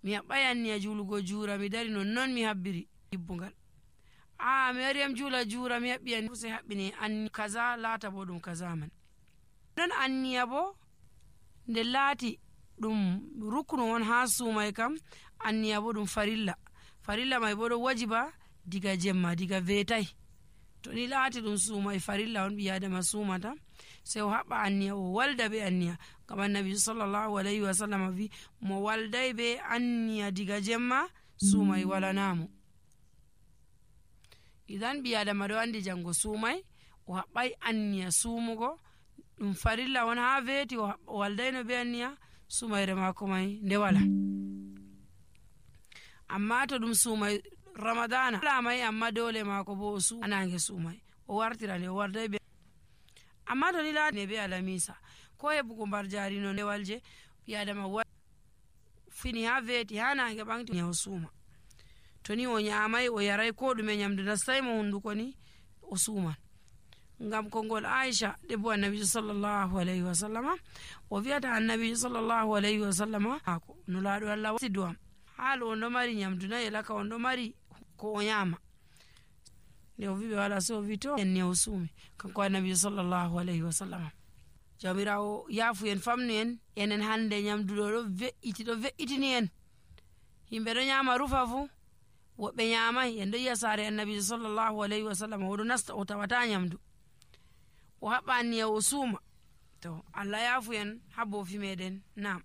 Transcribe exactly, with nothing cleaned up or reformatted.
mi haɓɓay anniya julugo juura mi dari nonnon mi habbiri hibbungal. a mi wari am juula juura mi haɓɓi anniya sai haɓɓini anni kaza laata bo ɗum kaza man. non anniya bo nde laati ɗum ruknu on ha sumai kam, anniya bo ɗum farilla. farilla mai bo ɗo wajiba diga jemma diga vetai. to ni laati ɗum sumai farilla on ɓi adama sumata sai o haɓɓa anniya o walda be anniya. ngam annabi sallallahu alayhi wa sallam vi mo waldai be anniya diga jemma sumai walanamo. idan ɓi adama ɗo andi jango sumai o haɓɓai anniya sumugo ɗum farilla on ha veeti o waldaino be anniya sumayre mako mai nde wala. amma to ɗum sumai ramadana wala mai amma dole mako bo o su anange sumai o wartira nde o wardai be. amma to ni laati be alamisa ko heɓugo mbar jari no ndewalje ɓi adama wa fini ha veeti ha nange ɓanti o suma. to ni o nyamai o yarai ko ɗume nyamdu nastai mo hunduko ni o suman. ngam kongol Aisha debbo annabi sallallahu alayhi wa sallama o wi'ata annabi sallallahu alayhi wa sallama ako no laado Allah wasi duam haalo on ɗo mari nyamdu na elaka on ɗo mari ko o nyama. nde o wiɓe wala so o wi to en ne o suumi kanko annabi sallallahu alayhi wa sallama. jawmirawo yaafu en famnu en enen hande nyamdu ɗo ɗo ve'iti ɗo ve'itini en. yimɓe ɗo nyama rufa fu woɓɓe nyamai en ɗo yiya saare annabi sallallahu alayhi wa sallama oɗo nasta o tawata nyamdu o haɓɓa anniya o suuma. to Allah yaafu en ha bofi meɗen. nam